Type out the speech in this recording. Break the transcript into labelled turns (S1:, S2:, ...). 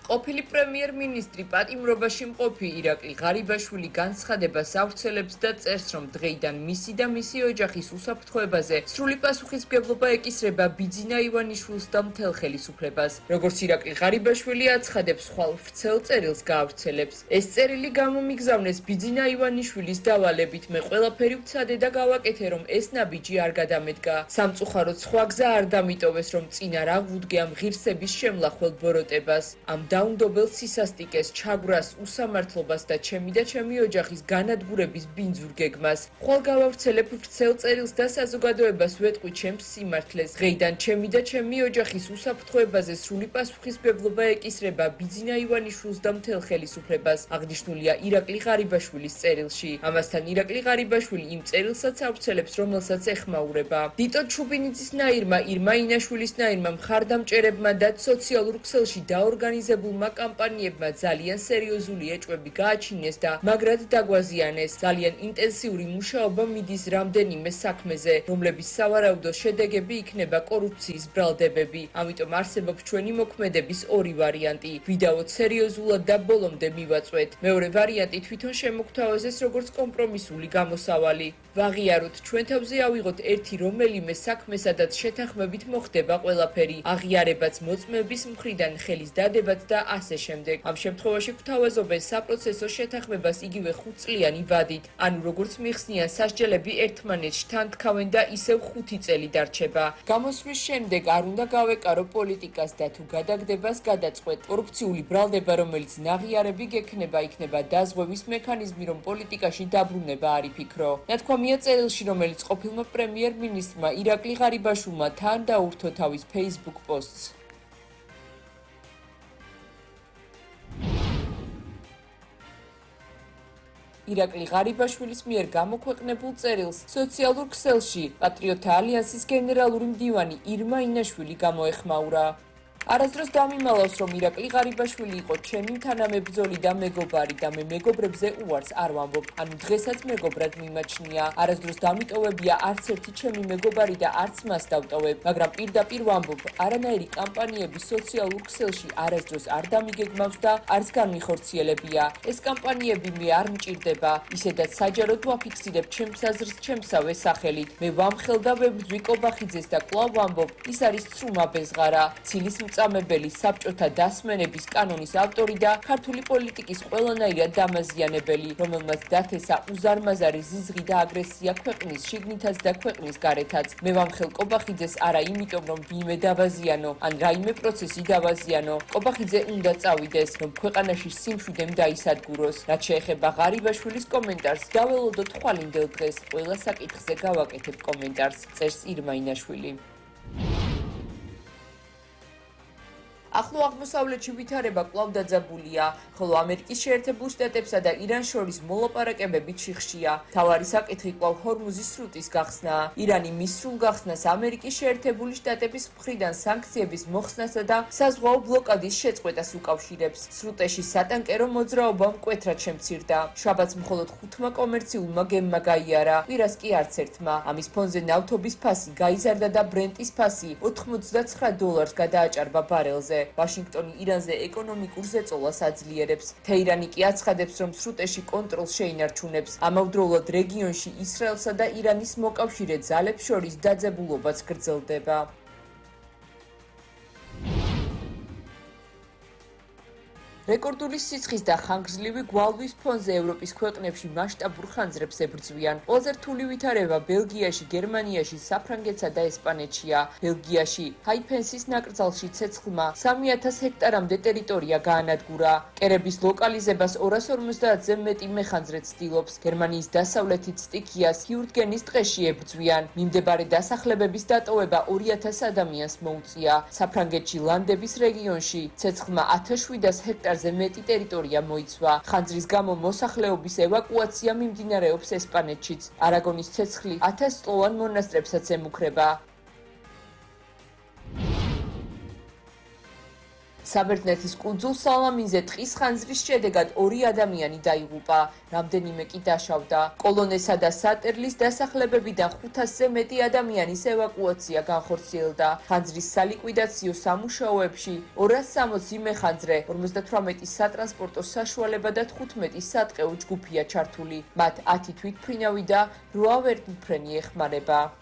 S1: ყოფილი პრემიერ-მინისტრი პატიმრობაში მყოფი ირაკლი ღარიბაშვილი განცხადებას ავრცელებს და წერს, რომ დღეიდან მისი და მისი ოჯახის უსაფრთხოებაზე სრული პასუხისმგებლობა ეკისრება ბიძინა ივანიშვილს და მთელ ხელისუფლებას. როგორც ირაკლი ღარიბაშვილი აცხადებს, ხვალ ვრცელ წერილს გაავრცელებს. ეს წერილი გამომიგზავნეს ბიძინა ივანიშვილის დავალებით. მე ყველაფერი ვცადე და გავაკეთე, რომ ეს ნაბიჯი არ გადამედგა. სამწუხაროდ სხვა გზა არ დამიტოვეს, რომ წინ არ აღვდგე ამ ღირსების შემლახველ ბოროტებას. ამ დაუნდობელ სისასტიკეს, ჩაგვრას, უსამართლობას და ჩემი ოჯახის განადგურების ბინძურ გეგმას. ხვალ გავავრცელებ ვრცელ წერილს და საზოგადოებას ვეტყვი ჩემს სიმართლეს. დღეიდან ჩემი ოჯახის უსაფრთხოებაზე სრული პასუხისმგებლობა ეკისრება ბიძინა ივანიშვილს და მთელ ხელისუფლებას, აღნიშნულია ირაკლი ღარიბაშვილის წერილში. ამასთან ირაკლი ღარიბაშვილი იმ წერილსაც ავრცელებს, რომელსაც ეხმაურება. დიტო ჩუბინიძისნაირმა, ირმა ინაშვილისნაირმა მხარდამჭერებმა და სოციალურ ქსელში დაორგანიზებულმა კამპანიებმა ძალიან სერიოზული ეჭვები გააჩინეს და მაგრად დაგვაზიანეს. ძალიან ინტენსიური მუშაობა მიდის რამდენიმე საქმეზე, რომლების სავარაუდო შედეგები იქნება კორუფციის ბრალდებები. ამიტომ არსებობს ჩვენი მოქმედების ორი ვარიანტი. ვიდაოთ სერიოზულად და ბოლომდე მივაწვეთ. მეორე ვარიანტი თვითონ შემოგთავაზეს როგორც კომპრომისული გამოსავალი. ვაღიაროთ, ჩვენ თავზე ავიღოთ ერთი რომელიმე საქმე, სადაც შეთანხმებით მოხდება ყველაფერი, აღიარებაც მოწმეების მხრიდან, ხელის დადებაც და ასე შემდეგ. ამ შემთხვევაში გვთავაზობენ საპროცესო შეთანხმებას იგივე 5 წლიანი ვადით, ანუ როგორც მიხსნიან, სასჯელები ერთმანეთში თან თქავენ და ისევ 5 წელი დარჩება. გამოსვლის შემდეგ არ უნდა გავეკარო პოლიტიკას და თუ გადაგდებას გადაწყვეტ. კორუფციული ბრალდება, რომელიც ნაღიარები გექნება, იქნება დაზღვევის მექანიზმი, რომ პოლიტიკაში დაბრუნება არ იფიქრო. ნათქვამია წერილში, რომელიც ყოფილმა პრემიერ-მინისტრმა ირაკლი ღარიბაშვილმა თან დაურთო თავის Facebook პოსტს. ირაკლი ღარიბაშვილის მიერ გამოქვეყნებულ წერილს სოციალურ ქსელში პატრიოტთა ალიანსის გენერალური მდივანი ირმა ინაშვილი გამოეხმაურა. არასდროს დამიმალავს, რომ ირაკლი ღარიბაშვილი იყო ჩემი თანამებრძოლი და მეგობარი და მე მეგობრებზე უარს არ ვამბობ, ანუ დღესაც მეგობრად მიმაჩნია. არასდროს დამიტოვებია არც ერთი ჩემი მეგობარი და არც მას დავტოვებ, მაგრამ პირდაპირ ვამბობ, არანაირი კამპანიები სოციალურ ქსელში არასდროს არ დამიგეგმავს და არც განმიხორციელებია. ეს კამპანიები მე არ მჭირდება, ისედაც საჯაროდ ვაფიქსირებ ჩემს აზრს ჩემსავე სახელით. მე ვამხელ და ვებრძვი კობახიძეს და კვლავ ვამბობ, ის არის ცრუმა ბეზღარა, ცილის მწამებელი, საბჭოთა დასმენების კანონის ავტორი და ქართული პოლიტიკის ყველანაირად დამაზიანებელი, რომელმაც დათესა უზარმაზარი ზიზღი და აგრესია ქვეყნის შიგნითაც და ქვეყნის გარეთაც. მე ვამხელ კობახიძეს არა იმიტომ, რომ ვინმე დავაზიანო, ან რაიმე პროცესი დავაზიანო. კობახიძე უნდა წავიდეს, რომ ქვეყანაში სიმშვიდემ დაისადგუროს. რაც შეეხება ღარიბაშვილის კომენტარს, დაველოდოთ ხვალინდელ დღეს, ყველა საკითხზე გავაკეთებ კომენტარს, წერს ირმა ინაშვილი. ახლო აღმოსავლეთში ვითარება კვლავ დაძაბულია, ხოლო ამერიკის შეერთებულ შტატებსა და ირანს შორის მოლაპარაკებები ჩიხშია. მთავარი საკითხი კვლავ ჰორმუზის სრუტის გახსნაა. ირანი მის სრულ გახსნას ამერიკის შეერთებული შტატების მხრიდან სანქციების მოხსნასა და საზღვაო ბლოკადის შეწყვეტას უკავშირებს. სრუტეში სატანკერო მოძრაობა მკვეთრად შემცირდა. შაბათს მხოლოდ 5 კომერციულმა გემმა გაიარა, კვირას კი არც ერთმა. ამის ფონზე ნავთობის ფასი გაიზარდა და ბრენტის ფასი $89 გადააჭარბა ბარელზე. ვაშინგტონი ირანზე ეკონომიკურ ზეწოლას აძლიერებს. თეირანი კი აცხადებს, რომ სრუტეში კონტროლს შეინარჩუნებს. ამავდროულად რეგიონში ისრაელსა და ირანის მოკავშირე ძალებს შორის დაძაბულობაც გრძელდება. რეკორდული სიცხის და ხანგრძლივი გვალვის ფონზე ევროპის ქვეყნებში მასშტაბურ ხანძრებს ებრძვიან. ყველაზე რთული ვითარება ბელგიაში, გერმანიაში, საფრანგეთსა და ესპანეთშია. ბელგიაში ჰაიფენსის ნაკრძალში ცეცხლმა 3000 ჰექტარამდე ტერიტორია გაანადგურა. კერების ლოკალიზებას 250-ზე მეტი მეხანძრე ცდილობს. გერმანიის დასავლეთით სტიქიას ჰიურტგენის ტყეში ებრძვიან. მიმდებარე დასახლებების დატოვება 2000 ადამიანს მოუწია. საფრანგეთში ლანდების რეგიონში ცეცხლმა 1700 ჰექტარზე მეტი ტერიტორია მოიცვა. ხანძრის გამო მოსახლეობის ევაკუაცია მიმდინარეობს ესპანეთშიც. არაგონის ცეცხლი 1000 წლოვან მონასტრებსაც ემუქრება. საბერძნეთის კუნძულ სალამინზე ტყის ხანძრის შედეგად 2 ადამიანი დაიღუპა, რამდენიმე კი დაშავდა. კოლონესა და სატერლის დასახლებებიდან 500-ზე მეტი ადამიანის ევაკუაცია განხორციელდა. ხანძრის სალიკვიდაციო სამუშაოებში 260 მეხანძრე, 58 სატრანსპორტო საშუალება და 15 სატყეო ჯგუფია ჩართული. მათ 10 თვითმფრინავი და 8 ვერტმფრენი ეხმარება.